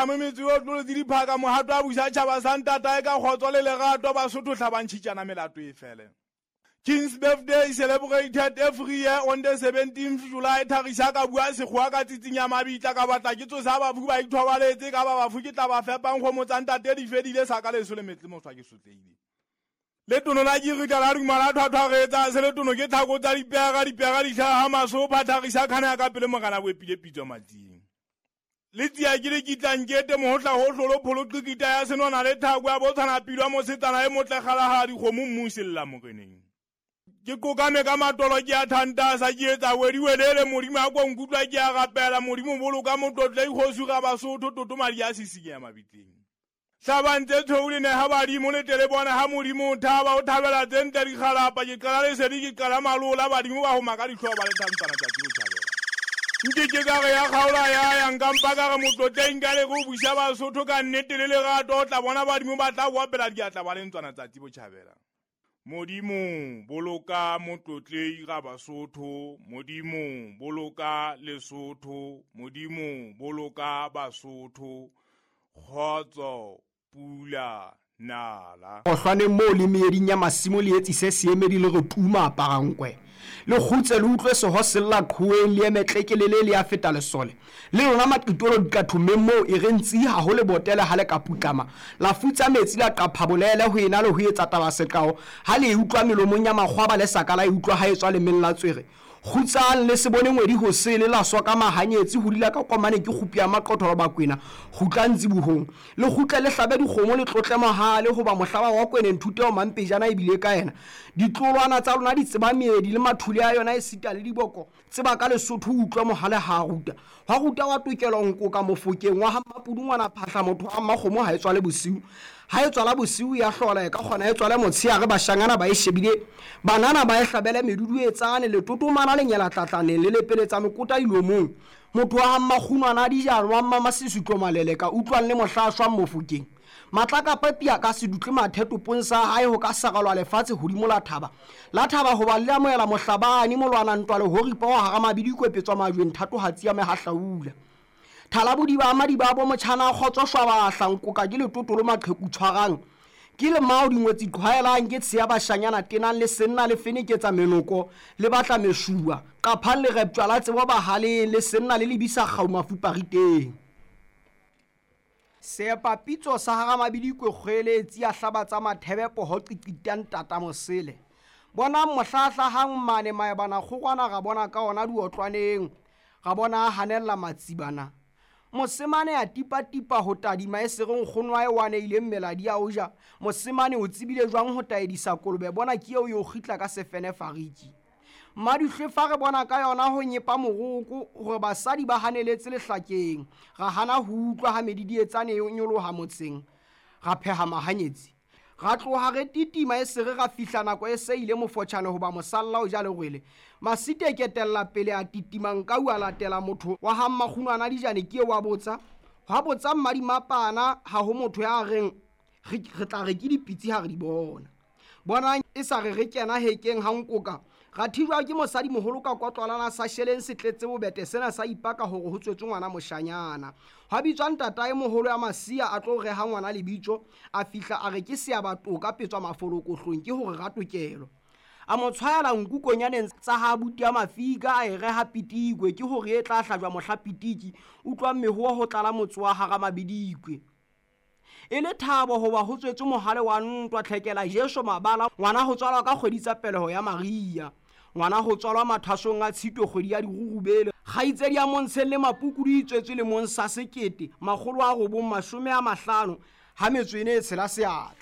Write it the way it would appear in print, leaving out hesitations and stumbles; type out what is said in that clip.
Metse yo tlolotse diphaka mohato a busa tšhaba sa ntatae ka kgotso le lerato. Basotho tlhabantšhitšana melato e fele. King's birthday celebrated every year on the 17th July. Thagiša ka bua sekgowa ka tsitsinya mabitla ka batla ke tsosa bafu ba ithobaletse ka ba bafu ke tla ba fepang kgomo tsa ntate di fedile sa ka leso le metle moswa ke sotlehile. Letono la kirita la duma la thwathwaretsa se letono ke tlhako tsa dipega dipega di tlhaga masopa. Thagiša khana ya ka pele mogala bo epile pitso matsing. Le tsia ke le kitlang kete mohotla ho hlolo pholo qikita ya senwana le thako ya botshwana pilwa mosetsana e motle galagala dikgomo mmusella moreneng. Ke kokame ka matolo ke a thantasa ke etsa wediwelele modimo a ko nkutlwa ke a rapela modimo boloka motlotle ikgosi ga basotho toto madi a sisinya mabitleng. Hlabang tse tshweu le neha badimo le tle le bona ha modimo o thaba o thabela tse ntle dikgalapa. Ke qala lesedi ke qala malola badimo ba homa ka dihlooho ba le thantsana tsatsi ho tjhabela. Nke ke ka re ya kgaola ya ya nka mpa ka re motlotleng ka le go busa basotho ka nnete le lerato o tla bona badimo ba tla boapela diatla ba le ntswana tsatsi botjhabela. Modimo boloka motlotlei ga basotho, modimo boloka Lesotho, modimo boloka basotho. Kgotso pula nala. Ohlwaneng moo le meeding ya masimo le etsise seemedi le re tuma aparankwe. Le kgutse le utlwe seho sella qhoweng le eme tlekelele le ya feta lesole. Le lona maqitolo diqathomeng moo e re ntsi ha ho le botele ha le ka putlama. La futsa metsi la qapha bolele ho ena le ho etsa taba seqao. Ha le e utlwa melomong ya makgwaba le sa ka la e utlwa ha e tswa lemeng la tswere. Kgutsang le se bone ngwedi hosele la soka mahanyetsi ho dila ka komane ke kgupi ya maqotholo bakwena. Kgutlang tsibohong. Le kgutle le hlabe dikgomo le tlotle mohale hoba mohlaba wa kwene nthuteo mampejana ebile ka yena. Ditlolwana tsa lona di tseba meedi le mathule a yona esita le diboko. Tseba ka Lesotho utlwa mohale ha ruta. Hwa ruta wa tokelo nkoka mofokeng wa ha Mapudungwana phahla motho wa mmakgomo ha e tswale bosiu. Ha e tswala bosiu ya hlola e ka kgona e tswale motsheare bashangana ba e shebile. Banana ba e hlabele meduduetsane letotomana le nyela tlatlaneng le lepeletsa mekota dilomong. Motho wa ha Mmakgunwana a dijalo wa Mmamasesutlo Maleleka utlwang le mohla a shwang mofokeng. Matlakapa pia ka sedutle mathe topong sa hae ho ka saralwa lefatshe hodimo la thaba. La thaba hoba le amohela mohlabani molwana ntwa le horipa wa hara mabidikwe petswa majweng thatohatsi ya mehahlaula. Thalabodiba a madiba a bo motjhana a kgotso shwabahla nkoka ke letotolo maqheku tshwarang. Ke le mao dingwetsi qhwaelang ke tsheya bashanyana tenang le senna le feneketsa menoko le batla meshuwa. Qaphang le reptjwa la tsebo bahaleng le senna le lebisa kgau mafupariteng. Seepapitso sa hara mabidikwe kgweletsi ya hlaba tsa mathebe poho qiqitang tata mosele. Bonang mohlahlahang mane maebana kgorwana ra bona ka ona diotlwaneng. Ra bona a hanella matsibana. Mosemane a tipatipa ho tadima e sere nkgono wa e wane ileng meladi a o ja. Mosemane o tsebile jwang ho taedisa kolobe bona ke eo yo kgitla ka sefene fariki. Madihlwe fa re bona ka yona ho nyepa moroko hore basadi ba haneletse lehlakeng. Ra hana ho utlwa ha medidietsane e nyoloha motseng. Ra pheha mahanyetsi. Ra tloha re titima e sere ra fihla nako e se ile mofotjhane hoba mosalla o ja lerwele. Masite ketella pele a titima nkau a latela motho wa ha Mmakgunwana dijane ke wa botsa. Hwa botsa mmadimapana ha ho motho ya reng re tla re ke dipitsi ha re di bona. Bonang e sa re re kena hekeng ha nkoka. Ra thijwa ke mosadi moholo ka kotlwalana sa sheleng se tletse bobete sena sa ipaka hore ho tswetswe ngwana moshanyana. Hwa bitswa ntatae moholo ya Masia a tlo reha ngwana lebitso, a fihla a re ke seabatoka petswa mafolokohlong ke hore ratokelo. A mo tshwaela nku konyaneng tsa ha abuti ya mafika a e reha pitikwe ke hore e tla hlajwa mohla pitiki utlwang mehoa ho tlala motse wa hara mabidikwe. E le thabo hoba ho tswetswe mohale wa ntwa tlhekela Jesu mabala ngwana ho tswalwa ka kgwedi tsa peleho ya Maria. Ngwana ho tswalwa mathwasong a Tshitwe kgwedi ya dirurubele. Kgaitsedi ya Montsheng le Mapuku di tswetswe lemong sa 1950 ha metso e ne e tshela seatla.